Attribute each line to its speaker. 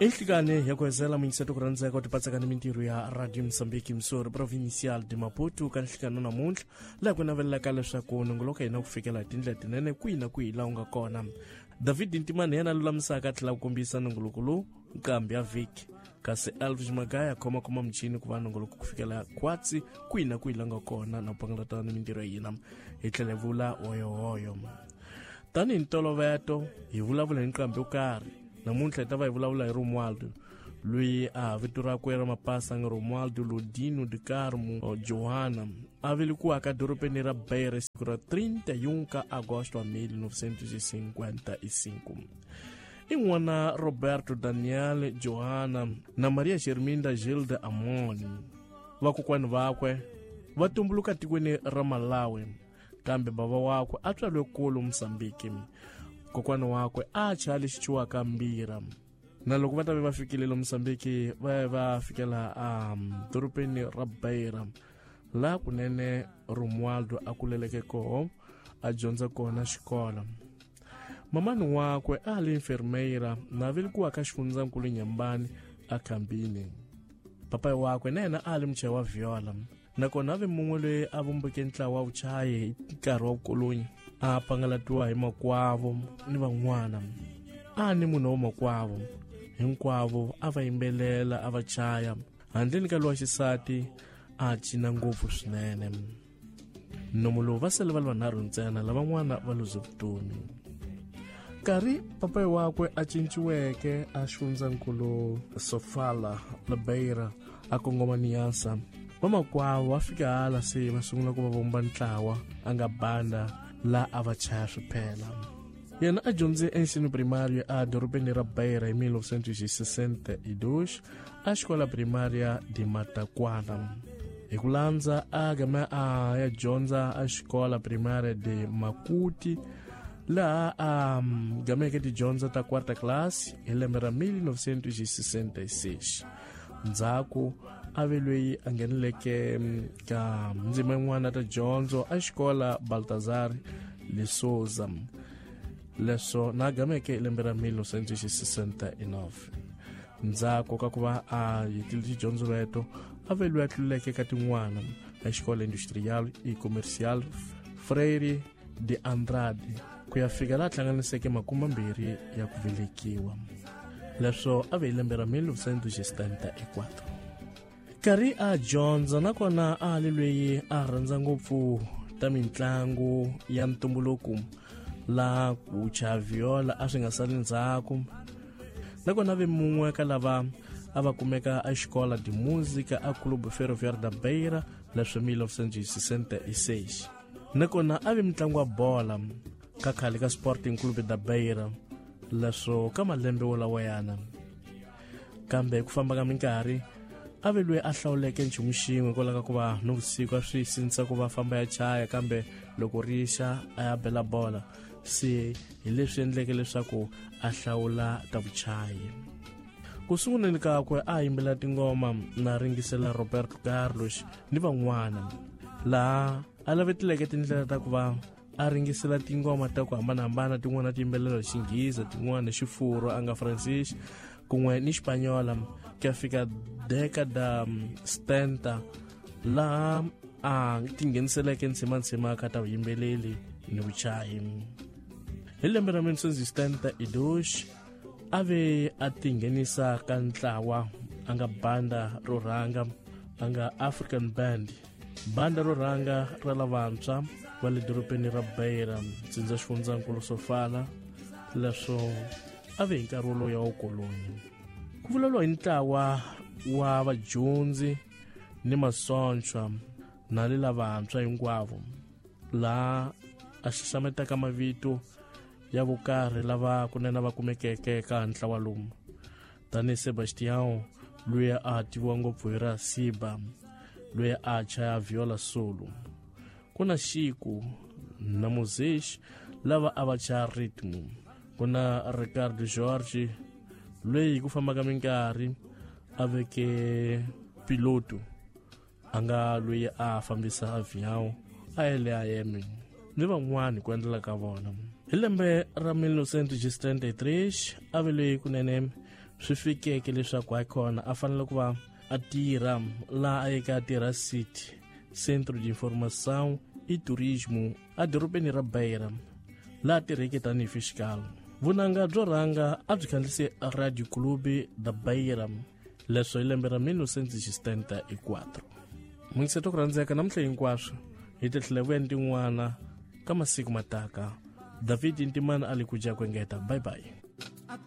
Speaker 1: Enhlikani ya ku hezela muyingiseti ku rhandzeka u tipatsaka ni mintirho ya Radio Mozambique, Musori Provincial de Maputo, ka nhlikano namuntlha laha ku navelelaka leswaku nongoloko hina ku fikela hi tindlela tinene kwihi na kwihi laha u nga kona. David Ntimani yena lulamisaka a tlhela ku kombisa nongoloko lowu nqambi ya vhiki, kasi Elvis Magaya khomakhoma michini ku va nongoloko ku fikela khwatsi kwihi na kwihi la nga kona na ku pangalata ni mintirho ya hina hi tlhela hi vula hoyohoyo. Tanihi ntoloveto hi vulavula hi nqambi yo karhi. Namuntlha hi ta va hi vulavula hi Romualdo, loyi a vito rakwe ra mapasa nga Romualdo Lodino de Carmo Johanna, a velekiwaka dorobeni ra Beira siku ra 31 ka Agosto wa 1955. I n'wana Roberto Daniel Johanna na Maria Germinda Gilda Amoni. Vakokwani vakwe va tumbuluka tikweni ra Malawi, kambe bava wakwe a tswariwe kulu Mozambique. Kokwana wakwe a chaya lexi ciwaka mbira. Na loko va ta ve va fikile le Mozambique, va ya va fikela a dorobeni ra Beira, laha kunene Romualdo a kuleleke koho, a dyondza kona xikolo. Mamani wakwe a li enfermeira na velekiwaka xifundzankulu Nyambani a Khambini. Papayi wakwe na yena a li muchayi wa viola, nakona a ve mun'we loyi a vumbeke ntlawa wa vuchayi hi nkarhi wa vukolonyi, a pangalatiwa hi makwavo ni van'wana. A ni munhu wa makwavo hinkwavo a va yimbelela a va chaya, handleni ka lowa xisati a cina ngopfu swinene. Nomu lowu va sele va ri vanharhu ntsena, lavan'wana va luze vutomi. Nkarhi papayi wakwe a cinciweke a xifundzankulu Sofala Labeira a kongoma Niassa, vamakwavo va fika hala se va sungula ku va vumba ntlawa a nga banda la a va chaya swiphela. Yena a dyondze ensino primário a dorobeni ra Beira hi 1962 a xikola primária de Mataquana. Hi ku landza a game a ya dyondza a xikola primária de Makuti, laha a gameke tidyondzo ta quarta class hi lembe ra 1966. Ndzhaku a ve loyi a ngheneleke ka ndzima yin'wana ta dyondzo a xikola Baltazar de Souza, leswo na gameke hi lembe ra 1969. Ndzhaku ka ku va a hetile tidyondzo leto, a ve loyi a tluleke ka tin'wana a xikola industrial e commercial Freire de Andrade ku ya fika laha hlanganiseke 20 ya ku velekiwa, leswo a ve hi lembe ra 1974. Nkarhi a dyondza nakona a li loyi a rhandza ngopfu ta mitlangu ya ntumbuluko, laha ku chaya viola a swi nga sali ndzhaku. Nakona ve mun'we ka lava a va kumeka a xikola de música a Clube Ferroviário da Beira, leswo 1966. Nakona a ve mutlangi wa bola ka khale ka Sporting Clube da Beira, leswo ka malembe wolawayana. Kambe hi ku famba ka minkarhi a ve loyi a hlawuleke nchumu xin'we hikwalaho ka ku va nivusiku a swi sindzisa ku va famba ya chaya, kambe loko ri xa a ya bela bola, se hi leswi endleke leswaku a hlawula ta vuchayi. Ku sunguleni kakwe a yimbela tingoma na ringisela Roberto Carlos ni van'wana, laha a lavetileke tindlela ta ku va a ringisela tingoma ta ku hambanahambana, tin'wana ti yimbelela hi Xinghezi, tin'wana hi Xifurwa a nga Francis kun'we ni Xipanyola, ku ya fika década 70 laha a tingheniseleke ntsimantsima ka ta vuyimbeleri ni vuchayi. Hi lembe ra 1972 a ve a tinghenisa ka ntlawa a nga banda ro rhanga a nga African Band, banda ro rhanga ra lavantshwa va le dorobeni ra Beira, ntsindza xifundzankulu Sofala, leswo a ve hi nkarhi wolowo wa vukoloni. Ku vulavuriwa hi ntlawa wa vadyondzi ni masontshwa na le lavantshwa hinkwavo, laha a xaxametaka mavito ya vokarhi lava kunene va kumekeke ka ntlawa lowu, tanihi Sebastião loyi a tiviwa ngopfu hi ra Siba, loyi a chaya viola solo, ku na Chico na Moses lava a va chaya rhythm, ku na Ricardo Jorge loyi hi ku famba ka minkarhi a veke piloto a nga loyi a fambisa avião a ya le a ni van'wani ku endlela ka vona. Hi lembe ra 1973 a ve loyi kunene swi fikeke leswaku hayikhona a fanele ku va a tirha laha a yeke a tirha city Centro de Informação e Turismo edorobeni ra Beira, laha tirheke tanihi fiscal. Vunanga byo rhanga a byi khandziyise Radio Clube da Beira, leswo hi lembe ra 1974. Mungiseto ku rhandzeka namuntlha hinkwaswo hi ti tlhela vuya ni tin'wana ka masiku mataka. David Ntimana a li ku dya ku engeta. Bye bye.